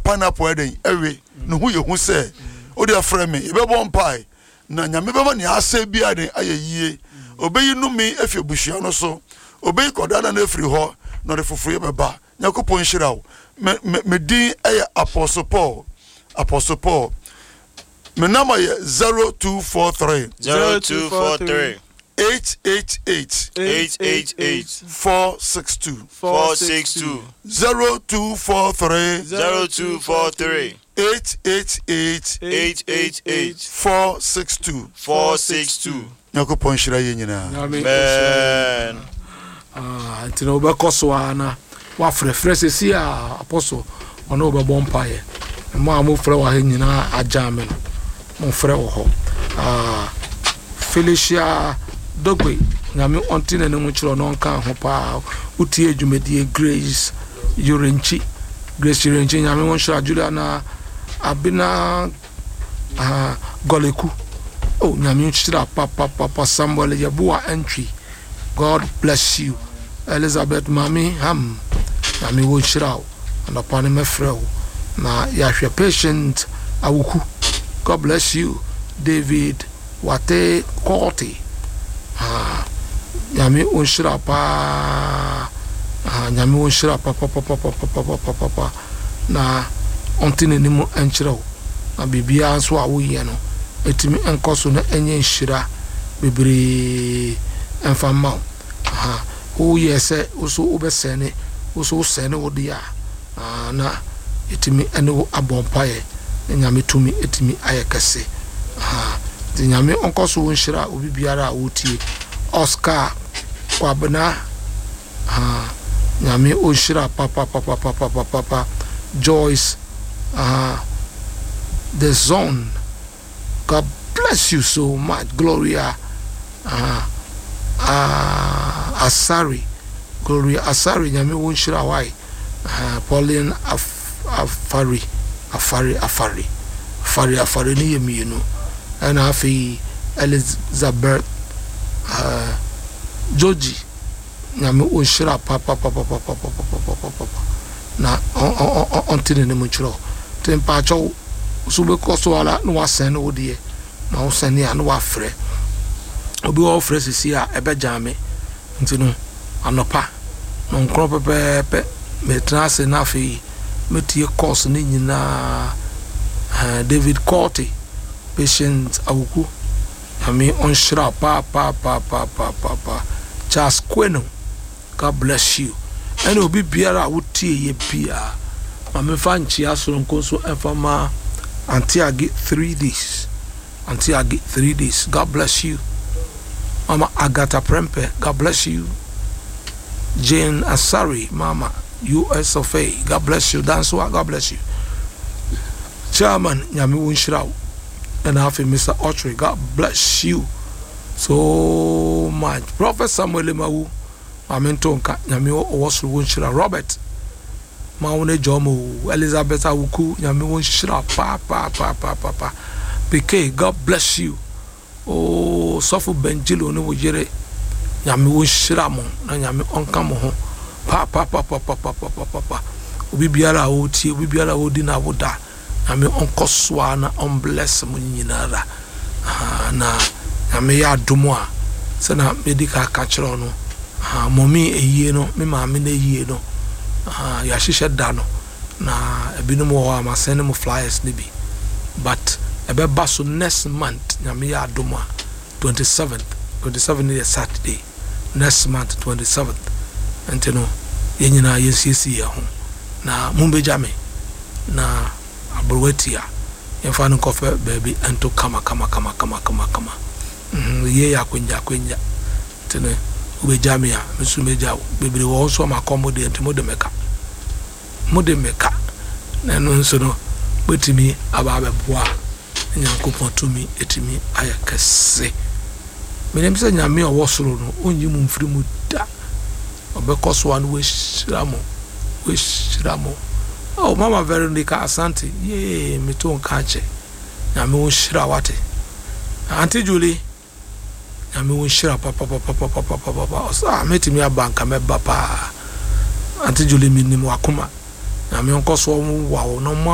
pineapple ɛdɛn ɛwe ne ho yɛ hu sɛ wode afrɛ me yɛbɛbɔ mpae na Nyame bɛma nea asɛe biara den ayɛ yie. Obeyi nnome afi abusua no so. Obeyi kɔdaanna no afiri hɔ, na ɔde foforoyɛ bɛba. Nyankopɔn nhyira wo. Me, me, me din yɛ Apostle Paul. Apostle Paul. Me number yɛ 0243. 0243. 888. 888. 462. 462. 0243. 0243. 888. 888. 462. 462. Nyankopɔn nhyira yɛn nyinaa. Nyame nhyira yɛn Amen. Ah, nti na wobɛkɔ so ara na wafrɛfrɛ sɛsi a apɔso ɔne wobɛbɔ mpaeɛ. Mo a mofrɛ wɔ ha nyinaa agyaa me no, mofrɛ wɔ hɔ. Ah, Felicia Dogbe, Nyame ɔnte n'anim nkyerɛ ɔno ɔnka ho paa. Wotie dwumadie Grace Yorenkyi, Grace Yorenkyi, Nyame wo nhyira. Juliana Abena ah, Gɔleku, oh, Nyame nhyira papapapa. Samuel Yeboah Antwi, God bless you. Elizabeth Mami Ham, Nyame wo nhyira wo. Anɔpa no mɛfrɛ wo na yɛahwɛ. Patient Awuku, God bless you. David Wate Kɔɔte, ah, Nyame wo nhyira paa. Ah, Nyame wo nhyira papapapapapapapa na ɔnte n'anim nkyerɛ wo na biribiara nso a woyɛ no ɛtumi nkɔ so na ɛnyɛ nhyira bebree ɛmfa mma wo. Aha, woyɛ sɛ wo so wobɛsɛne, wo so wosɛne wo deɛ a, ah, na yɛtumi ɛne wo abɔ mpaeɛ na Nyame tumi ɛtumi ayɛ kɛse. Aha, nti Nyame ɔnkɔ so nhyira obi biara a wotie. Oscar Kwabena, aha, Nyame ɔnhyira papapapapapapa. Joyce, aha, The Zone, God bless you so much. Gloria uh, uh, Asari, Gloria Asari, Nyame wo nhyira wai. Pauline Af Afari, Afari, Afari, Afari, Afari ne yɛ mmienu. Ɛna afei Elizabeth Georgie, Nyame wo nhyira papapapapapapapapapa na ɔnte n'anim nkyerɛ wo. Nti mpaakyɛw so wobɛkɔ so ara na wasɛn ne wo deɛ na wosɛne a na wafrɛ. Obi wɔ hɔ frɛ sisi a ɛbɛgyaa me. Nti no anɔpa nɔnkorɔ pɛpɛɛpɛ metena ase na afei metie course no nyinaa. David Korte, Patient Awuku, Nyame ɔnhyira wo paapaapaapaapaapa. Charles Kweno, God bless you. Ɛne obi biara a wotie yɛ biara. Ma memfa nkyea soronko nso ɛmfa ma Auntie Agi 3 days. Auntie Agi 3 days. God bless you. Mama Agatha Prempe, God bless you. Jane Asari, Mama US of A, God bless you. Dansoa, God bless you. Chairman, Nyame wo nhyira wo. Ɛna afei Mr. Autry, God bless you so much. Prophet Samuel Emawu, Maame nto nka, Nyame ɔwɔ soro wo nhyira. Robert, ma wo ne John o. Elizabeth Awuku, Nyame wo nhyira pa pa pa pa pa pa. PK, God bless you. Oh, Sɔfo Benjilo ne wo yere, Nyame wo nhyira mo na Nyame ɔnka mo ho pa pa pa pa pa pa pa pa pa pa. Obi biara a ɔretie, obi biara a ɔredi n'awoda, Nyame ɔnkɔ so ara na ɔmbless mo nyinara. Aha, na Nyame yɛ adom a, sɛna medi ka aka kyerɛ wo no, aha, mɔmi ayie no, me maame no ayie no, aha, yɛahyehyɛ da no, na ebinom wɔ hɔ a masɛne mo flyers no bi, but ɛbɛba so next month, Nyame yɛ adom a, 27th, 27 no yɛ Saturday, next month 27th, nti no yɛn nyinaa yɛnsiesie yɛn ho na mombɛgya me na aberewa tia yɛmfa no nkɔfɛ baabi nto kama kama kama kama kama kama. Mm, yie yɛ akwanya akwanya, nti no wobɛgya me a, me nso mɛgya wo. Bebree wɔ hɔ nso a makɔ mo deɛ, nti mode me ka, mode me ka, na ɛno nso no mɛtumi aba abɛboa na Nyankopɔn tumi ɛtumi ayɛ kɛse. Menim sɛ Nyame a ɔwɔ soro no ɔnyi mo mfiri mu da, ɔbɛkɔ so a na wahyira mo, wahyira mo. Oh, Mama Veronica Asante, yee, meto nka akyɛ. Nyame wo nhyira wate. Auntie Julie, Nyame wo nhyira papapapapapapapa. Ɔsɛ ah, mɛtumi aba nka mɛba paa. Auntie Julie, menim wakoma. Nyame ɔnkɔ so ɔnwowa wo na ɔma